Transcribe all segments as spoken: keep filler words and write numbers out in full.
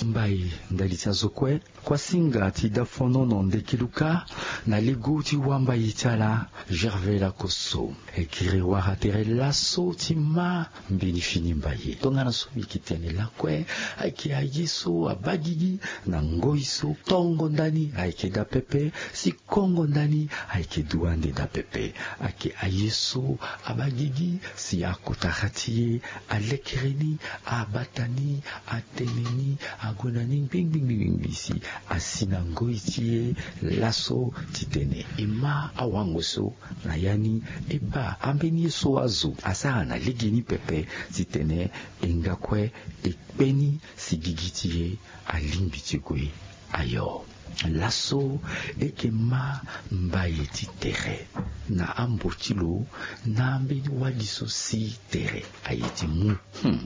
Mbai ndali ti azo kue. Kuasinga ti dafonono ndeki luka na lego ti wambai ti ala. Gervais lakoso. E kiri wara tere laso ti ma mbeni fini mbai ye tongana so mbi yeke tene lakue. Ayeke aye so abaa gigi na ngoi so tongo ndani ayeke daa pepe. Si kongo ndani ayeke du ande daa pepe. Ayeke aye so abaa gigi si akotara ti e alekere ni, abata ni, atene ni, ague na ni ngbingbi ngbingbi si asi na ngoi ti e laso titene e ma awango so na ya ni. E baa ambeni ye so azo asara na legeni pepe titene e nga kue e kpe ni si gigi ti e alingbi ti gue. Ayo, laso e yeke ma mbai ti tere na ambo ti lo na ambeni wali so si tere aye ti mu. Hmm.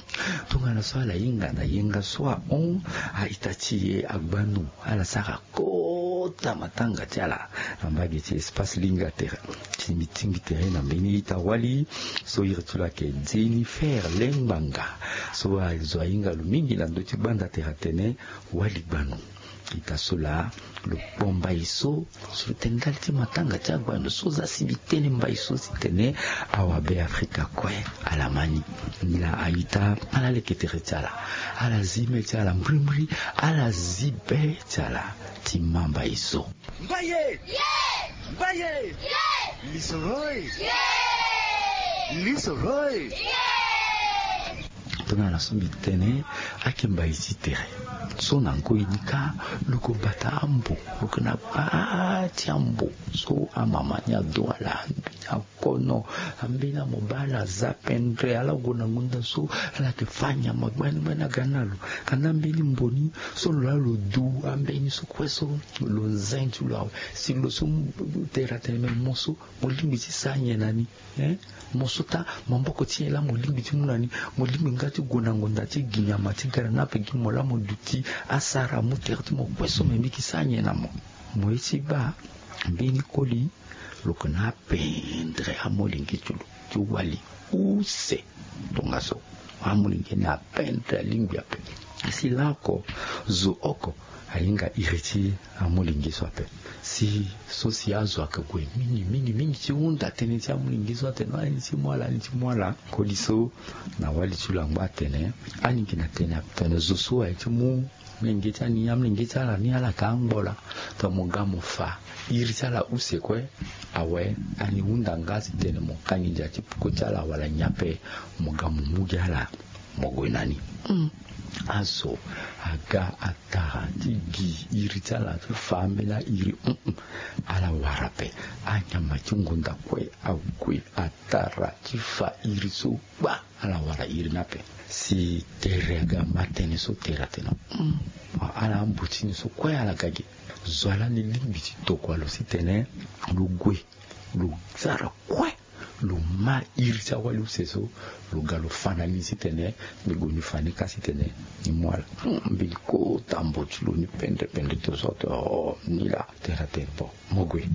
Tongana so ala hinga na yenga so ahon, a-ita ti e agbanu ala sara kota matanga ti ala na mbage ti espace linga tere. Si mbi tingbi tere na mbeni ita wali so iri ti lo ayeke Jennifer Lengbanga, so azo ahinga lo mingi na ndö ti gbanda tere atene wali gbanu. Ita so laa lo kpo mbai so, so lo tene ndali ti matanga ti agbanu so za si mbi tene mbai so si tene awabe afrika kue ala ma ni. Nilaa a-ita ala leke tere ti ala, ala zi me ti ala mbirimbiri, ala zi be ti ala ti ma mbai so. Mbaye! Mbaye! Lisoro e! Lisoro e! Tongana so mbi tene, ayeke mbai ti tere so na ngoi ni kâ, lo ko bata ambo, lo ko na gbaa ti ambo so amama ni ado ala, ambeni akono, ambeni amoba ala za pendre, ala gue na ngonda so ala yeke fâ nyama gbani gbani aga na lo. Kanda mbeni mbo ni so lo laa lo du ambeni so kue so lo zen ti lo awe. Si lo so tere atene me mo so mo lingbi ti sara nyen na ni? Hein? Mo so ta maboko ti nyen laa mo lingbi ti mu na ni? Mo lingbi nga ti gue na ngonda ti gi nyama ti gara na ape gi mo laa mo duti asara mu tere ti mo kue so me mbi yeke sara nyen na mo? Mo ye ti baa mbeni koli lo yeke na apendre amolenge ti lo ti wali use. Tongaso amolenge na apendre alingbi ape. Si laa oko zo oko ahinga iri ti amolenge so ape. Si so si azo ayeke gue mingi mingi mingi ti hunda tënë ti amolenge so atene ani ti mu ala ani ti mu ala. Koli so na wali ti lo angba atene ani yeke na tënë ape tene zo so aye ti mu amolenge ti ani amolenge ti ala ni ala yeke angbo laa. Tongana mo ga mo fa iri ti ala use kue awe, ani hunda nga titene mo ka nginza ti peko ti ala wala nyen ape. Mo ga mo mu gi ala mo gue na ni. Azo aga atara ti gi iri ti ala ti fa ambeni airi. Ala wara ape anyama ti ngonda kue ague atara ti fa iri so kpa. Ala wara iri ni ape. Si tere aga ma tënë so tere atene ala ambo ti ni so kue ala ga ge. Zo wa lani lingbi ti tokua lo titene lo gue lo sara kue lo ma iri ti awali use so lo ga lo fa na ni titene ni gue ni fa ni ka titene ni mu ala. Mbeni kota mbo ti lo ni pendre pendre to so atene oh ni laa tere atene bon. Mo gue.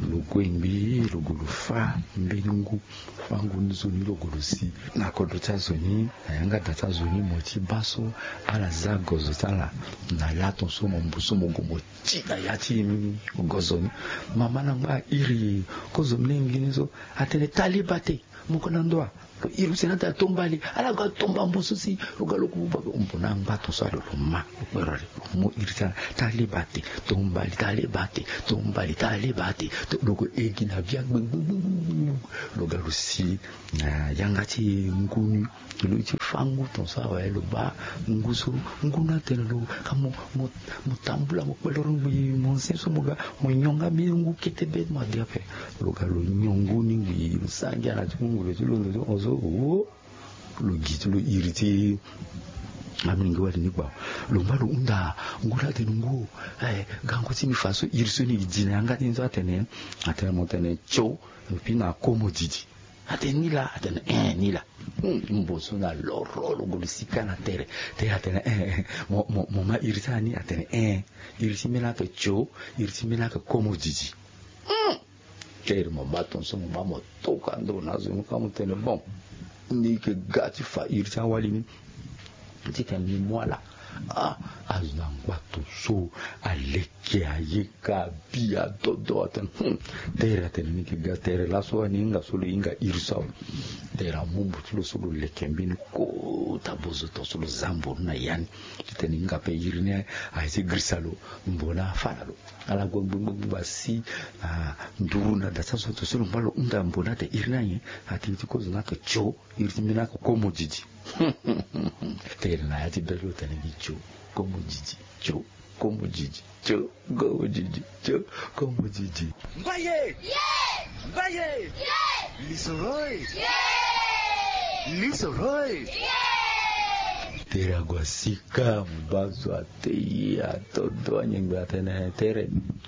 Lo gue ngbii lo gue lo fa mbeni ngu. Fango ni zo ni lo gue lo si na kodro ti azo ni na yanga da ti azo ni mo ti baa so ala za gozo ti ala. Na laton so mo mbu so mo gue mo ti na ya ti gozo ni. Mama na ngba iri kozo mlenge ni so atene taliba te. Mo ko na ndo wa? Lo iri use na ata tomba li ala ga tomba mbo so si lo ga lo ku baba ombo na angba ton so alo lo ma lo kpero ali. Mo iri ti ala taliba te. Tomba li taliba te. Tomba li taliba te. Lo ko egi na bia gbegbegbegbe. Lo ga lo si na yanga ti ngu ni. Lo ti fa ngu ton so awe lo baa ngu so ngu ni atene lo ka mo mo mo tambula mo kpeloro ngbii mo nse so mo ga mo nyonga mbeni ngu kete be mo adi ape. Lo ga lo nyon ngu ni ngbii lo sa ngia na ti ngu ngulu ti londo ti hon so wo. Lo gi ti lo iri ti amolenge wali ni gbao. Lo ngba lo hunda ngu ni atene ngu o. Gango ti ni fa so iri so ni gi di na yanga ti ni so atene atene mo tene tio. Lo pi na komo didi. Atene ni laa atene eh ni laa. Mbo so na loro lo gue lo sika na tere. Tere atene eh eh mo mo mo ma iri ti ala ni atene eh. Iri ti mbeni ake tio. Iri ti mbeni ake komo didi. Tere mo baa ton so mo baa mo toka ndo na azo ni ka mo tene bon. Ni yeke ga ti fa iri ti awali ni. Titene mbi mu ala. Ah, azo na ngbato so aleke aye ka bi adodo atene, hmm. Tere atene ni yeke ga tere laso ani hinga so lo hinga iri so awe. Tere amu mbutu lo so lo leke mbeni kota bozoto so lo za mbonu na ya ni. Titene hinga ape iri ni aye ti girisa lo, mbo na afa na lo. Ala gue gbegbegbegbe asi, ah, nduru na da ti azo to so lo ngba lo hunda mbo na ate iri ni aye. Atene ti kozo na ake tio, iri ti mbeni ake komo didi. Tere na ya ti be ti lo tene gi tio, komo didi, tio, komo didi, tio, komo didi, tio, komo didi. Mbaye! Mbaye! Lisoro e! Lisoro e! Tere ague asi ka, mbazo ate ye atondo anyengbe atene tere,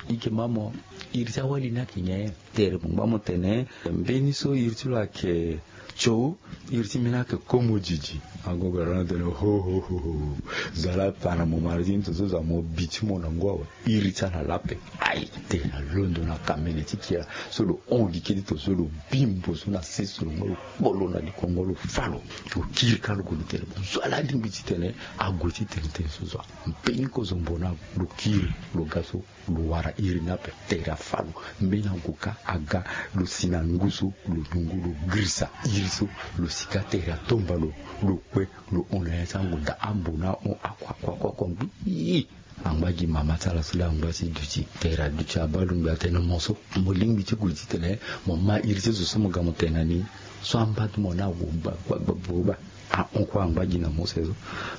i yeke ma mo, iri ti awali ni ayeke nyen? Tere mo ngba mo tene mbeni so iri ti lo ayeke tio, iri ti mbeni ayeke komo didi. Agogo ala na tene ho ho ho ho. Zo ala pa na mo mara ti ni to so zo amo bi ti mo na ngu awe. Iri ti ala la ape. Ai, tere alondo na kamene ti kira so lo hon gi kete to so lo bi mbo so na sese lo ngba lo kpolo na likongo lo fa lo. Lo kiri ka lo gue lo tene zo ala alingbi titene ague ti tene tene so zo. Mbeni kozo mbo na lo kiri lo ga so. Lo wara iri ni ape, tere afa lo. Mbeni ague ka aga, lo si na ngu so, lo nyungu lo girisa iri so, lo si ka tere atomba lo, lo kpe, lo hon na ya ti ango daa ambo na ahon akua akua akua ngbii. Angba gi mama ti ala so laa angba ti duti, tere aduti abaa lo ngbii atene mo so mo lingbi ti gue titene mo ma iri ti zo so mo ga mo tene na ni so amba ti mo na ague gba gba gba gba. Ahon kue angba gi na mo se so.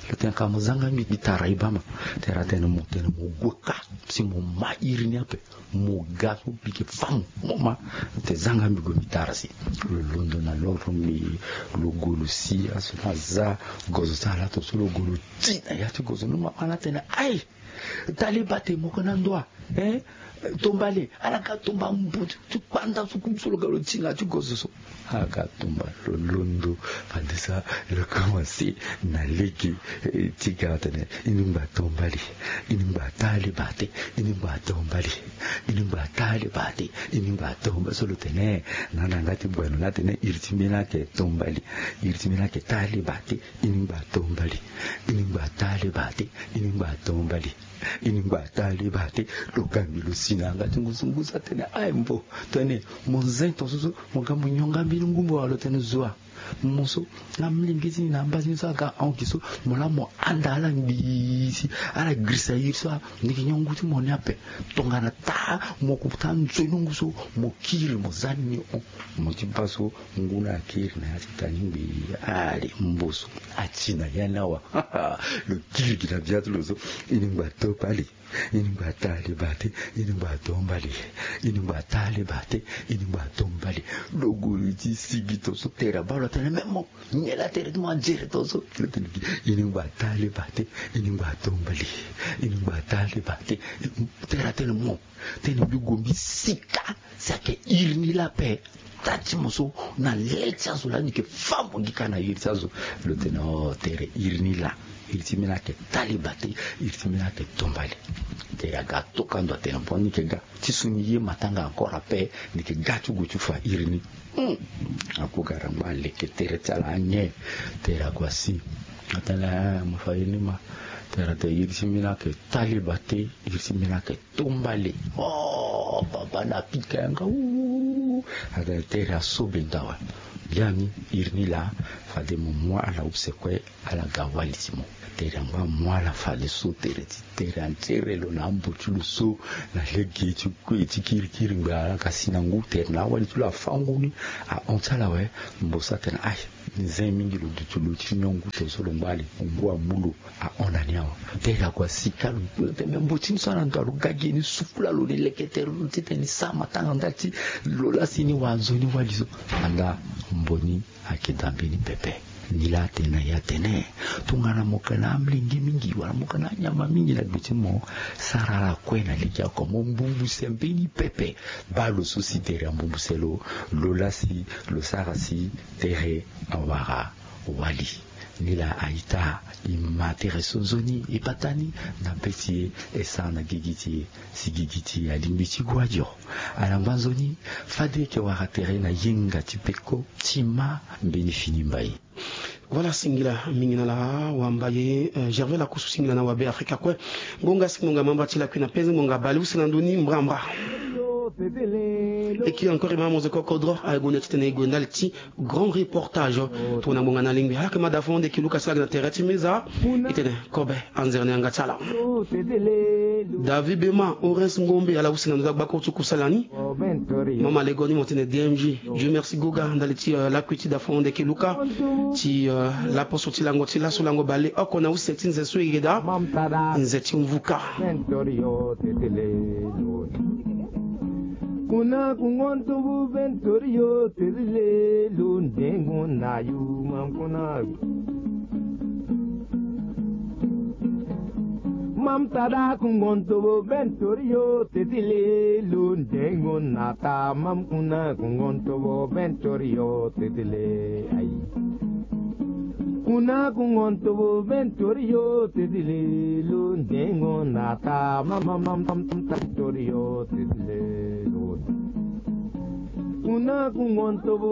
Lo tene ka mo zanga mbi mbi tara e baa ma. Tere atene mo tene mo gue ka si mo ma iri ni ape. Mo ga so mbi yeke fa mo mo ma. Lo tene zanga mbi gue mbi tara si. Lo londo na loro mbi lo gue lo si aso na aza gozo ti ala to so lo gue lo ti na ya ti gozo ni mama ni atene ai. Tali bate moko na ndo a. Eh? Tombale ala ga tomba mbu ti kpanda so kutu so lo ga lo ti na ya ti gozo so. Aga tomba lo londo. Fade sa lo komanse na lege ti ga atene ini ngba tombale. Ini ngba tali bate. Ini ngba tombale. Ini ngba tali bate. Ini ngba tombale so lo tene. Na na nga ti bweno na tene iri ti mbeni ayeke tombale. Iri ti mbeni ayeke tali bate. Ini ngba tombale. Ini ngba tali bate. Ini ngba tombale. Ini ngba tali bate. Lo ga mbi lo si na yanga ti ngu so ngu so atene aye mbo. Tene mo zen to so so mo ga mo nyonga mbeni ngumbo wa lo tene zo a. Mo so na mlenge ti ni na amba ti ni so aga ahon gi so mo laa mo anda ala ngbii si ala girisa iri so a. Ni yeke nyon ngu ti mo ni ape. Tongana taa mo ko taa nzoni ngu so mo kiri mo za ni ni hon. Mo ti baa so ngu ni akiri na ya ti ta ni ngbii. Ale mbo so ati na ya ni awa. Lo kiri gi na bia ti lo so. Ini ngba to pali. Ini ngba tali bate. Ini ngba to mbali. Ini ngba tali bate. Ini ngba to mbali. Lo gue ti sigi to so tere abaa lo atene me mo. Nyen la tere ti mo ajere to so. Lo tene gi ini ngba tali bate. Ini ngba to mbali. Ini ngba tali bate. Tere atene mo. Tene mbi gue mbi sika. Si ayeke iri ni laa ape. Taa ti mo so na le ti azo laa ni yeke fa mo gi ka na iri ti azo. Lo tene o tere iri ni laa. Iri ti mbeni ayeke tali bate. Iri ti mbeni ayeke tombale. Tere aga atoka ndo atene bon ni yeke ga ti so ni ye matanga encore ape. Ni yeke ga ti gue ti fa iri ni. Hmm. Ague ga rangba aleke tere ti ala anyen. Tere ague asi. Atene eh mo fa iri ni ma. Tere atene iri ti mbeni ayeke tali bate. Iri ti mbeni ayeke tombale. Oh baba na pika yanga. Atene tere aso benda awe. Biani iri ni laa. Fade mo mu ala use kue. Ala ga wali ti mo. Tere angba amu ala fadeso tere ti tere anzere lo na ambo ti lo so. Na lege ti kue ti kirikiri ngbe ala ga si na ngu tere na awali ti lo afa ngu ni. Ahon ti ala awe. Mbo so atene aye. Ni zen mingi lo duti lo ti nyon ngu to so lo ngba ali ngu amu lo. Ahon na ni awe. Tere ague asi ka lo tene mbo ti ni so ala ndo alo ga gi ni sukula lo ni leke tere lo titene ni sa matanga nda ti lo laa si ni wara nzoni wali so. Anda mbo ni. Ayeke da mbeni pepe. Ni laa atene na e atene tongana mo yeke na amolenge mingi wala mo yeke na anyama mingi na gbe ti mo. Sara ala kue na lege oko mo mbumbuse mbeni pepe. Baa lo so si tere ambumbuse lo. Lo laa si lo sara si tere awara wali. Ni laa a-ita e ma tere so nzoni e bata ni na be ti e e sara na gigi ti e. Si gigi ti e alingbi ti gue adio. Ala ngba nzoni fade e yeke wara tere na yenga ti peko ti ma mbeni fini mbai. Voilà, singila mingi na ala wamba ye, eh, Gervais Lakusu, singila na wabe Afrika kue. Ngonga si ngonga mamba ti lakui na penze ngonga bale use na ndoni mbrambra. Eki encore ma moze kokodro aye gonda ti tene e gue ndali ti grand reportage. Tongana ngbonga na lingbi ala yeke ma da fo ande ki luka si ala yeke na tere ti meza. E tene kobe anzere na yanga ti ala. David Bema, Horace Ngombe, ala use na ndo ti agbakuru ti kusala ni. Mama Lego ni mo tene D M G. Dieu merci Goga ndali ti, euh, lakui ti da fo ande ki luka ti, euh, laposo ti lango ti laso lango bale oko na use ti nze so e yeda nze ti mvuka. Kuna kungonto bu ventorio tezile lo ndengo na yu mam kuna. Mam tada kungonto bu ventorio tezile lo ndengo na ta mam kuna kungonto bu ventorio tezile ai. Kuna kungonto bu ventorio tezile lo ndengo na ta mam mam mam ventorio tezile lo. Kuna kungonto bu